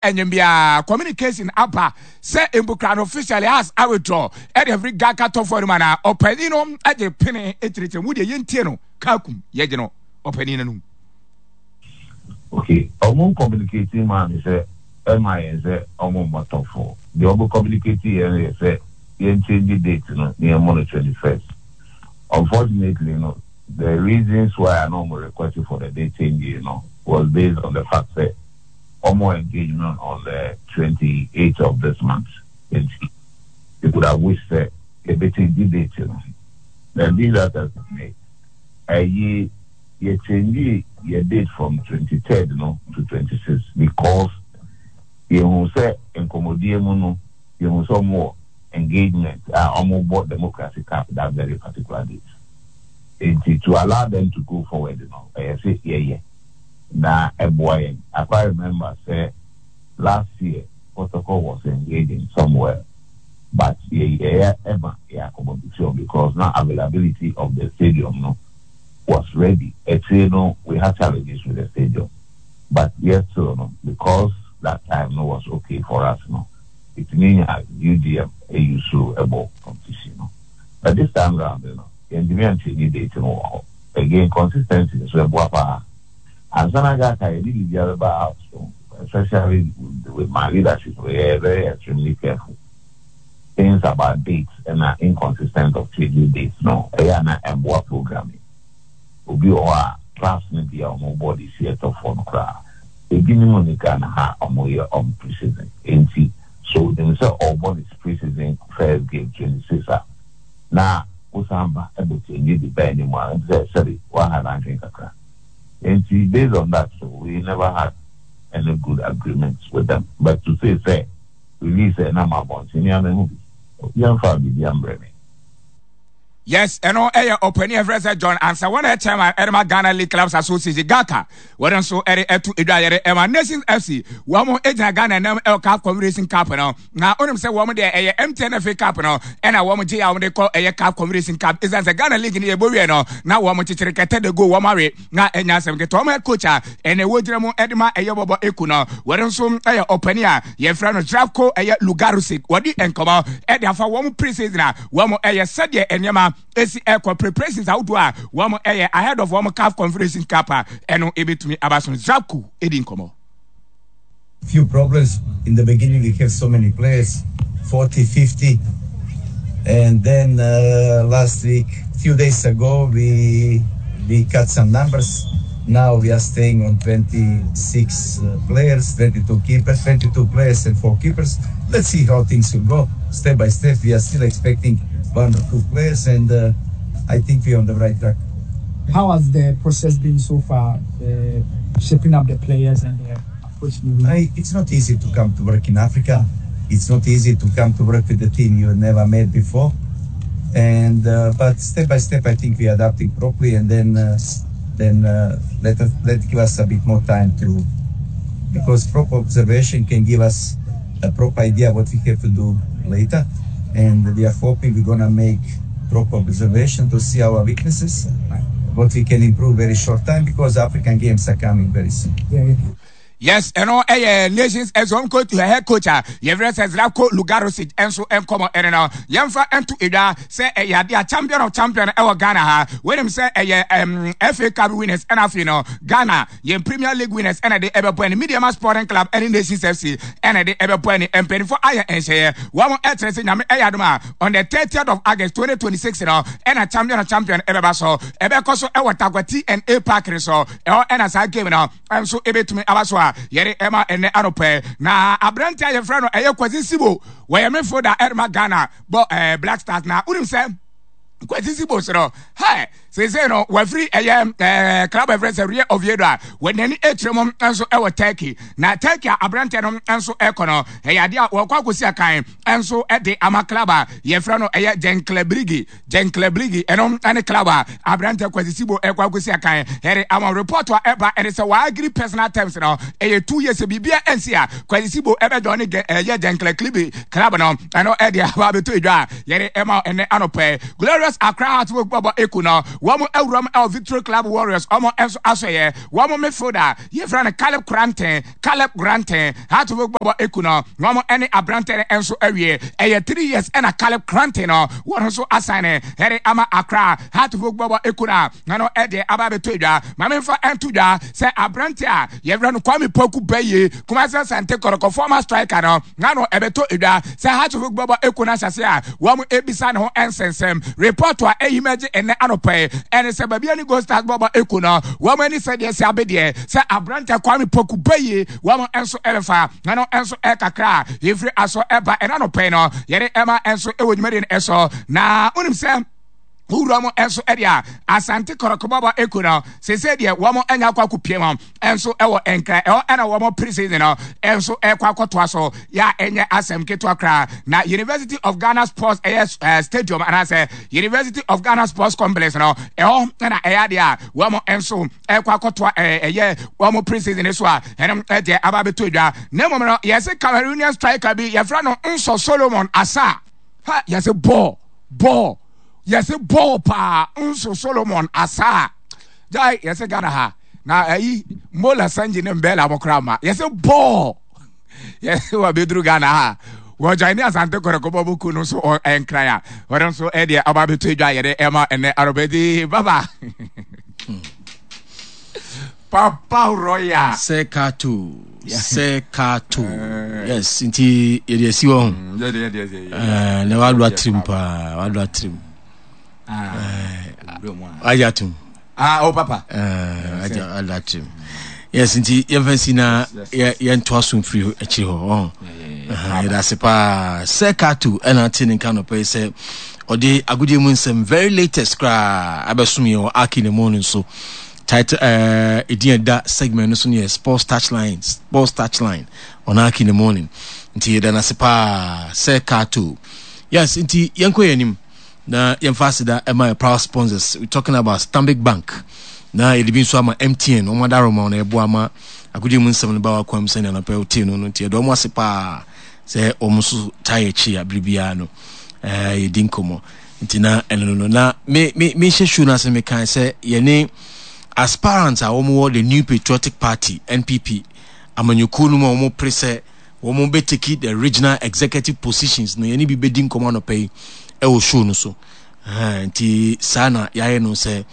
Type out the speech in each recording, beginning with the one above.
Ɛnyɛ biara communication aba sɛ mbukra no officially has a withdraw ɛde afiri Gaka tɔfoɔ no mu anaa ɔpanin no de pene kyerɛkyerɛ mu deɛ yɛntie no kakum yɛgye no ɔpanin no anum. Okay, ɔmo communicate maa me sɛ ɛma yɛn sɛ ɔmo mmɔ top four. Deɛ ɔmo communicate yɛn no yɛ sɛ yɛn change date no na yɛn mmɔ no 21st. Unfortunately no, the reasons why a na ɔmo request for the date change no was based on the fact sɛ ɔmo engagement on the 28th of this month nti they could have wished sɛ yɛbɛ change date no. Then be that as it may, ɛyi yɛ change yɛ date from 23rd no to 26 because yɛhu sɛ nkɔmmɔdie mu no yɛhu sɛ ɔmo wɔ engagement a ɔmo bɔ Democracy Cup that very particular date. Nti to allow them to go forward no ɛyɛ sɛ yɛyɛ na ɛboa yɛn. I quite remember sɛ last year Kotoko was engaging somewhere but yɛyɛɛ ɛma yɛ accommodate wɔn because na availability of the stadium no was ready. Akyire no we had challenges with the stadium but yɛ still no because that time no was okay for us no yɛtumi nya UGM use ɛbɔ competition no but this time round no yɛntumi anchange date no wɔ hɔ. Again consistency nso ɛboa paa. Ansa na Ghaka yɛde biribiara bɛba out no, especially with my leadership no, yɛyɛ very extremely careful. Things about dates ɛna inconsistent of changing dates no, ɛyɛ a na ɛmboa programming. Obi wɔ hɔ a clubs no bi a wɔn bɔ de si ɛtɔfoɔ no koraa, ebinom nni Ghana ha a wɔyɛ wɔn pre-season. Enti so onim sɛ ɔrebɔ ne pre-season first game 26 a, na wosan ba bɛ change de ba anim a, ɛnte sɛ sɛbe woaha n'adwene kakra. Enti based on that so we never had any good agreement with them. But to say sɛ release a ɛnam abɔnten, me ara mahu bi. Obiara mfaa biribi ambrɛ me. Yes, ɛno ɛyɛ ɔpanin a ɛfrɛ sɛ John Ansah, wɔn ɛyɛ chairman ɛde ma Ghana League Clubs Association GHALCA. Wɔn nso ɛde ɛto edwa yɛde ɛma Nations FC. Wɔn egyina Ghana nam ɛwɔ CAF Confederation Cup no. Na onim sɛ wɔn deɛ ɛyɛ MTN FA Cup no ɛna wɔn gye a wɔn de kɔ ɛyɛ CAF Confederation Cup. Ɛsiane sɛ Ghana League no yɛbɔ wie no na wɔn kyekyere kɛtɛ de go wɔn awe na ɛnya asɛm ketewa. Wɔn head coach a ɛna ɛwɔ gyina mu ɛde ma ɛyɛ bɔbɔ eku no wɔn nso ɛyɛ ɔpanin a yɛfrɛ no Zdravko ɛyɛ Lugarusic. Wɔde nkɔmɔ ɛde afa wɔn pre-season a wɔn ɛyɛ sɛdeɛ nneɛma esi ɛkɔ preparations ahodoɔ a wɔn ɛyɛ ahead of wɔn CAF Confederation Cup a ɛno ebetumi aba so. Zdravko edi nkɔmɔ. Few problems in the beginning. We have so many players, 40, 50, and then last week, few days ago, we cut some numbers. Now we are staying on 26 players, 22 keepers, 22 players and 4 keepers. Let's see how things will go. Step by step, we are still expecting 1 or 2 players, and I think we are on the right track. How has the process been so far, shaping up the players and the approach? It's not easy to come to work in Africa. It's not easy to come to work with a team you never met before. But step by step, I think we are adapting properly, and then let give us a bit more time to, because proper observation can give us a proper idea what we have to do later. And we are hoping we're going to make proper observation to see our weaknesses, what we can improve very short time, because African Games are coming very soon. Yes, ɛno ɛyɛ Nations ɛsɛ coach, head coach a yɛfrɛ sɛ Zdravko Lugarusic ɛnso nkɔmɔ ɛne no yɛmfa ɛnto edwa sɛ ɛyɛ adeɛ a champion of champion ɛwɔ Ghana ha. Wɔnim sɛ ɛyɛ FA Cup winners ɛna afei no Ghana yɛn Premier League winners ɛna de ɛbɛbɔ ɛne Medeama Sporting Club ɛne Nations FC ɛna de ɛbɛbɔ ɛne mpanyinfoɔ ayɛ nhyɛyɛ wɔn ɛkyerɛ sɛ Nyame ɛyɛ adom a on the 30th of August 2026 no ɛna champion of champion ɛbɛba so ɛbɛkɔ so ɛwɔ Tarkwa TNA Park no so ɛhɔ ɛna saa game no nso ebetumi aba so a yɛde ɛma ɛnɛ anɔpɛ. Na aberante a yɛfrɛ no ɛyɛ Kwasi Sibo, wɔyɛ midfielder ɛrema Ghana bɔ Black Stars. Na wonim sɛ Kwasi Sibo so no hɛ seesei no wafiri ɛyɛ club ɛfrɛ sɛ Real Oviedo a wɔnani akyerɛ mu nso ɛwɔ Turkey. Na Turkey a aberante no nso ɛkɔ no ɛyɛ adeɛ a wɔkɔ akɔsi akan nso ɛde ama club a yɛfrɛ no ɛyɛ Gençlerbirliği. Gençlerbirliği ɛno ɛne club a aberante Kwasi Sibo ɛkɔ akɔsi akan ɛde ama. Report a ɛba ɛne sɛ wɔagree personal terms no ɛyɛ 2 years, biribia ɛnsi a Kwasi Sibo ɛbɛdɔ ne ɛyɛ Gençlerbirliği club no. Ɛno ɛde aba abɛtɔ edwa a yɛde ɛma ɛnɛ anɔpɛ. Glorious Accra Hearts of Oak bɔbɔ eku no Wɔn awuram ɛwɔ Victory Club Warriors wɔn nso asɔyɛ. Wɔn midfielder yɛfrɛ no Caleb Koranteng, Caleb Koranteng, Hearts of Oak bɔbɔ eku no. Wɔn ɛne aberante no nso awie. Ɛyɛ 3 years ɛna Caleb Koranteng no wɔn nso asan ne ɛde ama Accra Hearts of Oak bɔbɔ eku no a na no ɛde aba abɛtɔ edwa. Maame nfa ɛnto dwa sɛ aberante a yɛfrɛ no Kwame Poku Bɛyie, Kumasi Asante Kɔtɔkɔ former striker no, na no ɛbɛtɔ edwa sɛ Hearts of Oak bɔbɔ eku no ahyɛse a wɔn ebisa ne ho nsɛnsɛm. Report a ɛyi mɛgye ɛnɛ anɔpɛ yi ɛne sɛ Bibiani Gold Stars bɔbɔ eku no wɔn ani sɛ deɛ sɛ abedeɛ sɛ aberante Kwame Poku Bɛyie wɔn nso ɛbɛfa na no nso ɛkakra a yɛfiri aso ɛba ɛna anɔpɛ yi no yɛde ɛma nso ɛwɔ dwumadie no ɛso. Na wonim sɛ wowura mu nso ɛde a Asante Kɔtɔkɔ bɔbɔ eku no sese deɛ wɔn anya akɔ akɔpie mu nso ɛwɔ Nkran ɛhɔ ɛna wɔn pre-season no nso ɛkɔ akɔtoa so yɛ a ɛnyɛ asɛm ketewa koraa. Na University of Ghana Sports ɛyɛ stadium anaasɛ University of Ghana Sports Complex no, ɛhɔ ɛna ɛyɛ adeɛ a wɔn nso ɛkɔ akɔtoa ɛyɛ wɔn pre-season so a ɛnom ɛdeɛ aba abɛtɔ dwa. Na mmom no, yɛsɛ Cameroonian striker bi yɛfrɛ no Nsɔ Solomon Asa ha, yɛsɛ bɔɔl bɔɔl, yɛsɛ bɔɔl paa. Nso Solomon Asa gyae, yɛsɛ Ghana ha na ayi Mola Sanji ne Mbɛla mo koraa ma yɛsɛ bɔɔl. Yɛsɛ wɔ abɛduru Ghana ha, wɔgyae ne Asante Kɔtɔkɔ bɔ boku no nso ɛnkran a wɔde nso ɛdeɛ ɔba abɛtɔ adwa yɛde ɛma ɛnɛ arɔbɛdi baba Papa Royal. Sɛ kato, sɛ kato, yes. Nti yɛde asi hɔ ho na wado atirim paa, wado atirim agye atom. Ah, oh papa. Agye ado atirim, yes. Nti yɛmfa nsi na yɛntoa so mfiri akyiri hɔ ɔho. Yɛde ase paa sɛ kato ɛna ate ne nka nɔpɛ yi sɛ ɔde agodie mu nsɛm very latest koraa abɛsom yɛn wɔ Aki ne mu no nso. Title ɛdin ɛda segment no so no yɛ Sports Touchline, Sports Touchline on Aki in the Morning. Nti yɛda no ase paa sɛ Kato. Yes, nti yɛnkɔ yɛn anim na yɛmfa aseda ɛma yɛ proud sponsors. We talking about Stanbic Bank na yɛde bi nso ama MTN. Wɔn adaroma na ɛboa ama agodie mu nsɛm no ba wakwan mu sɛnea anɔpɛ wotee no. Nti yɛda wɔn ase paa sɛ wɔn nso taa yɛ akyi a bere biara no yɛdi nkɔmmɔ. Nti na ɛno no na me me mehyɛ show no ase, mekan sɛ yɛne aspirants a wɔwɔ the New Patriotic Party, NPP amanyɔkuo no mu a wɔn pere sɛ wɔn bɛ take the regional executive positions no, yɛne bi bɛdi nkɔmmɔ anɔpa yi ɛwɔ show no so. Nti saa na yɛayɛ no sɛ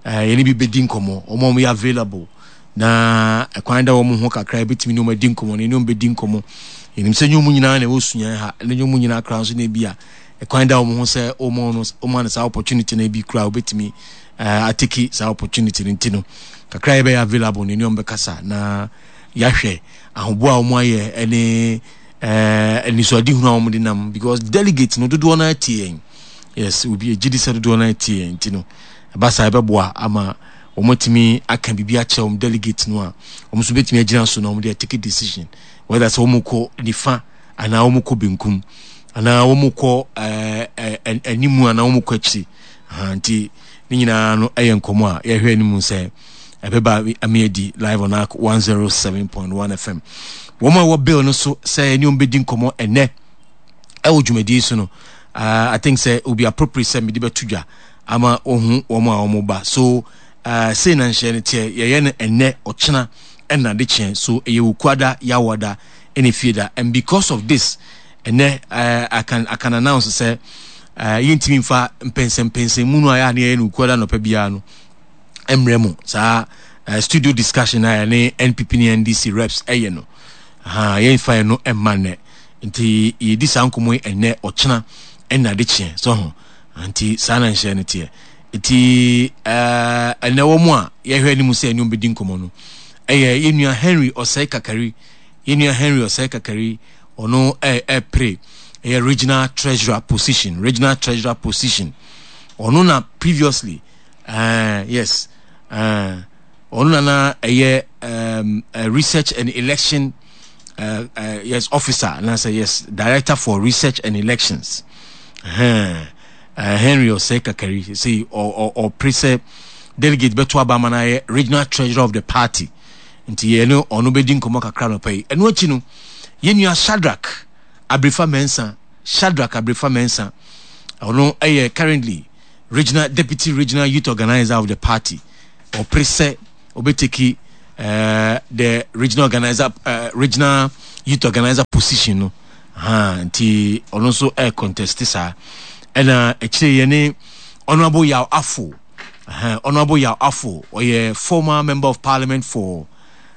yɛne bi bɛdi nkɔmmɔ, wɔn a wɔyɛ available na ɛkwan da wɔn ho kakra ebɛtumi ne wɔn adi nkɔmmɔ no, yɛne wɔn bɛdi nkɔmmɔ. Yɛnim sɛ nyɛ wɔn nyinaa na ɛwɔ sua ha, ne nyɛ wɔn nyinaa koraa nso na ebi a ɛkwan da wɔn ho sɛ wɔn no wɔn no saa opportunity no ebi koraa wɔbɛtumi ateki saa opportunity no. Nti no kakra yɛbɛyɛ available no, ɛne wɔn bɛkasa na yɛahwɛ ahoboa a wɔn ayɛ ɛne anisoadehunu a wɔn de nam, because delegate no dodoɔ no atie yɛn. Yes, obi egye di sɛ dodoɔ no atie yɛn, nti no ɛba saa ɛbɛboa ama wɔn atumi aka biribi akyerɛ wɔn delegate no a wɔn nso bɛtumi agyina so na wɔn de atake decision whether sɛ wɔn kɔ nifa anaa wɔn kɔ benkum anaa wɔn kɔ ɛɛ animu anaa wɔn kɔ akyiri. Nti ne nyinaa no ɛyɛ nkɔmɔ a yɛhwɛ anim sɛ ɛbɛba ame adi live on Ark 107.1 FM. Wɔn a ɛwɔ bill no so sɛ ɛne wɔn bɛdi nkɔmɔ ɛnɛ ɛwɔ dwumadie so no, I think sɛ it will be appropriate sɛ mede bɛto dwa ama wɔhu wɔn a wɔn ba so. Sei na nhyɛ no teɛ, yɛyɛ no ɛnɛ, ɔkyena ɛna de kyeɛ so, ɛyɛ Wukuada, Yawada ɛna Fieda. And because of this, ɛnɛ I can announce sɛ yɛntumi nfa mpɛnsɛmpɛnsɛn mu no a yɛ a ne yɛyɛ no Wukuada nɔpɛ biara no mmerɛ mu. Saa studio discussion a yɛne NPP ne NDC reps ɛyɛ no ha, yɛmfa yɛ no mma nnɛ. Nti yɛdi saa nkɔmmɔ yi ɛnɛ, ɔkyena ɛna de kyeɛ so ho. Nti saa na nhyɛ no teɛ. Nti ɛnɛ wɔ mu a yɛhwɛ anim sɛ ɛne bɛdi nkɔmmɔ no ɛyɛ yɛnua Henry Ɔsɛe Kakari. Yɛnua Henry Ɔsɛe Kakari, ɔno ɛpere ɛyɛ regional treasurer position, regional treasurer position. Ɔno na previously, yes, ɔno na na ɛyɛ research and election yes officer anaasɛ, yes, director for research and elections. Henry Ɔsɛe Kakari sɛ ɔpere sɛ delegate bɛto aba ama no ayɛ regional treasurer of the party. Nti yɛne ɔno bɛdi nkɔmmɔ kakra nɔpa yi. Ɛno akyi no, yɛnua Shadrack Abrefa Mensah, Shadrack Abrefa Mensah, ɔno ɛyɛ currently regional deputy regional youth organizer of the party. Ɔpere sɛ ɔbɛteki uh, the regional organizer uh, regional youth organizer position no. Ha nti ɔno nso ɛ contest saa. Ɛna akyire yɛ ne Honorable Yaw Afo. Uh, Honorable Yaw Afo ɔyɛ former member of parliament for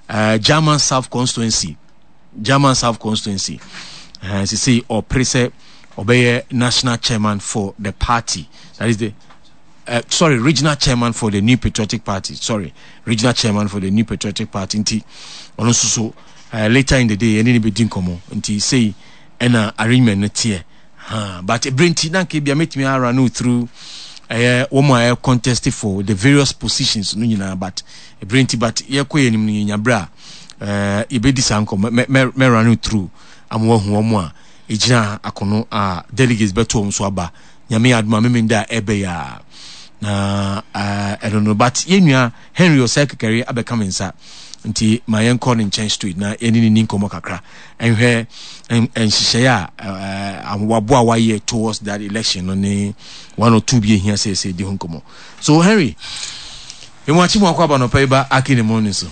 uh, German South constituency. German South constituency. Uh, sisi ɔpere sɛ ɔbɛyɛ national chairman for the party. That is the uh, sorry, regional chairman for the New Patriotic Party. Sorry, regional chairman for the New Patriotic Party. Nti ɔno nso so uh, later in the day ɛne ne bɛdi nkɔmmɔ. Nti sei ɛna arrangement no teɛ. Ha, but ebere nti na nka ebia mɛtumi ara no through ɛyɛ wɔn a ɛyɛ contest for the various positions no nyinaa but ebere nti but yɛkɔ yɛn anim no yɛnya bere a ɛɛ yɛbɛdi saa nkɔmmɔ mɛ mɛ mɛra no through ama wɔahu wɔn a egyina akono a delegates bɛto wɔn so aba. Nyame yɛ adom a Memenda a ɛbɛ yi a na ɛno no but yɛn nua Henry Osei Kekere abɛka me nsa nti ma yɛnkɔ ne nkyɛn straight na yɛne ne ni nkɔmmɔ kakra nhwɛ nhyehyɛeɛ a waboa wayɛ towards that election no ne one or two bi ehia sɛ sɛ di ho nkɔmmɔ. So Henry, emu akyi mu akɔ aba nɔpɛ yi ba Aki ne morning so.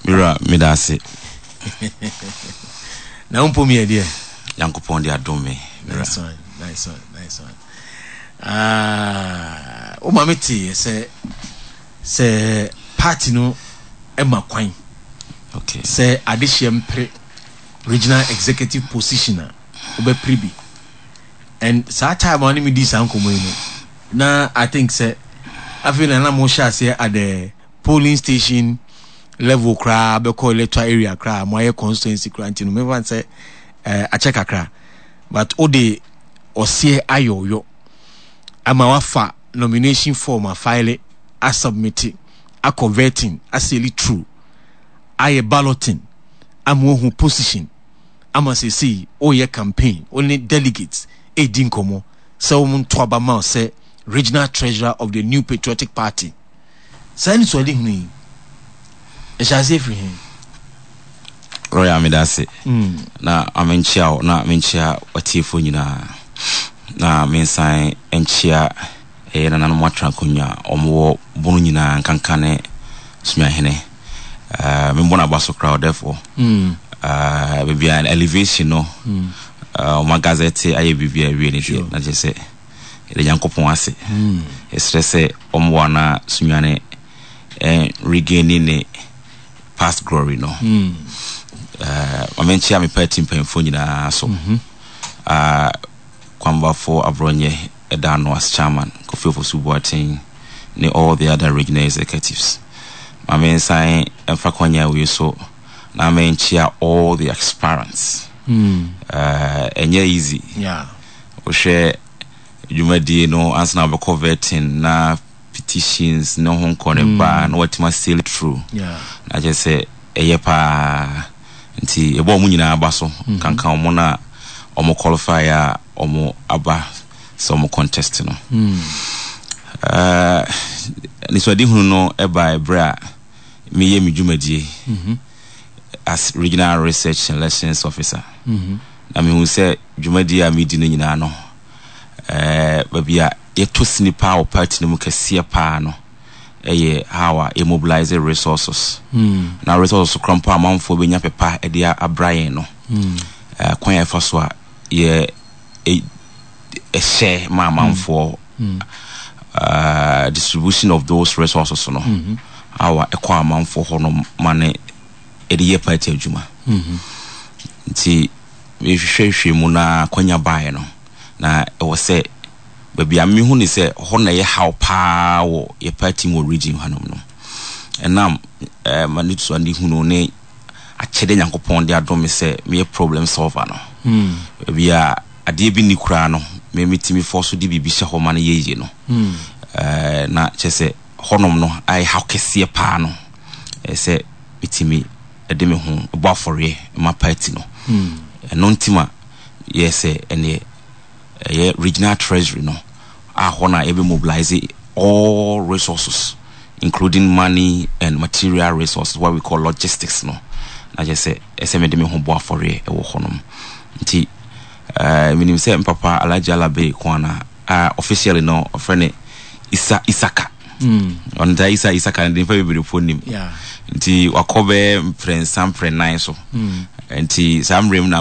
Mewura, meda ase. Na wo mpom yɛ deɛ? Nyankopɔn de adom me. Nice one, nice one, nice one. Ah, wo ma me te sɛ sɛ party no ma kwan. Okay. Sɛ adehyeɛ mpere regional executive position a wobɛpere bi. And saa time a ne me di saa nkɔmmɔ yi no, na I think sɛ afei na na mo hyɛ aseɛ at the polling station level koraa bɛkɔ electoral area koraa mo ayɛ constituency koraa nti no mefa sɛ eh, akyɛ kakra but wode ɔseɛ ayɛ ɔyɔ ama wafa nomination form afile asubmit akɔ vetting asɛli true ayɛ balloting ama wahu position ama sesei woyɛ campaign wo ne delegates ɛdi nkɔmmɔ sɛ wɔn nto aba ma sɛ regional treasurer of the New Patriotic Party. Saa anisoadehunu yi, ɛhyɛ aseɛ firi he? Royal meda ase na ma menkyea wo na menkyea w'atiefoɔ nyinaa na mensan nkyea ɛyɛ nananom atra akonnwa a wɔwɔ bono nyinaa nkanka ne Sumiahene uh, membɔ no aba so koraa ɔdɛfoɔ mm. uh, baabi a elevation no mm. uh, ɔma gazette ayɛ biribi a awie no deɛ na kyerɛ sɛ Yɛda Nyankopɔn ase. Yɛsrɛ sɛ ɔmmoa na Sunyani regaini ne past glory no. Ma menkyea me party mpanyinfoɔ nyinaa so. Kwambafo Abrɔnyɛ ɛda ano as chairman, Kofi Ofosu Boateng ne all the other regional executives. Ma mensan mfa kwanya wei so na menkyea all the aspirants. Ɛnyɛ easy. Yeah. Wohwɛ dwumadie no ansa na wobɛkɔ vetting na petitions ne ho nkɔ ne ba na watumi asail through na kyerɛ sɛ ɛyɛ paa nti yɛbɔ wɔn nyinaa aba so mm-hmm. kankan wɔn a wɔn qualify a wɔn aba sɛ wɔn contest no mm. uh, nisuadehunu no ɛba ɛberɛ a meyɛ me dwumadie mm-hmm. as regional research and elections officer mm -hmm. Na mehu sɛ dwumadie a medi no nyinaa no, eh, baabi a yɛtɔ sini paa wɔ party no mu kɛseɛ paa no ɛyɛ how a yɛ mobilize resources. Mm. Na resources kora mpo amanfoɔ bɛnya pepa de abra yɛn no. Mm. Eh, kwan a yɛfa so a yɛ ɛhyɛ ma amanfoɔ mm. uh, distribution of those resources no. Mm -hmm. How a ɛkɔ amanfoɔ hɔ no ma ne de yɛ party adwuma. Nti mehwehwɛhwɛ mu na akwanya baeɛ no, na ɛwɔ sɛ baabi a mehu ne sɛ hɔ na ɛyɛ haw paa wɔ yɛ party mu wɔ region hanom no. Ɛnam eh, m'anisoadehunu ne akyɛdeɛ Nyankopɔn de adom me sɛ meyɛ problem solver no. Hmm. Baabi a adeɛ bi nni koraa no, me metumi fɔ so de biribi hyɛ hɔ ma no yɛ yie no. Hmm. Eh, na kyerɛ sɛ hɔnom no ayɛ haw kɛseɛ paa no, ɛyɛ sɛ metumi de me ho bɔ afɔreɛ ma party no. Ɛno nti ma yɛɛ sɛ ɛneɛ ɛyɛ regional treasury no a hɔ na yɛbɛ mobilize all resources including money and material resources what we call logistics no na kyerɛ sɛ ɛsɛ mede me ho bɔ afɔreɛ ɛwɔ hɔnom nti eh, menim sɛ mpapa Alhaji Alabe Kwana. A officially no ɔfrɛ no Isa Isaka. Ɔno taa Isa Isaka no de nipa bebree po nim. Nti wakɔ bɛyɛ mprɛnsa mprɛnan so. Nti saa mmerɛ mu na.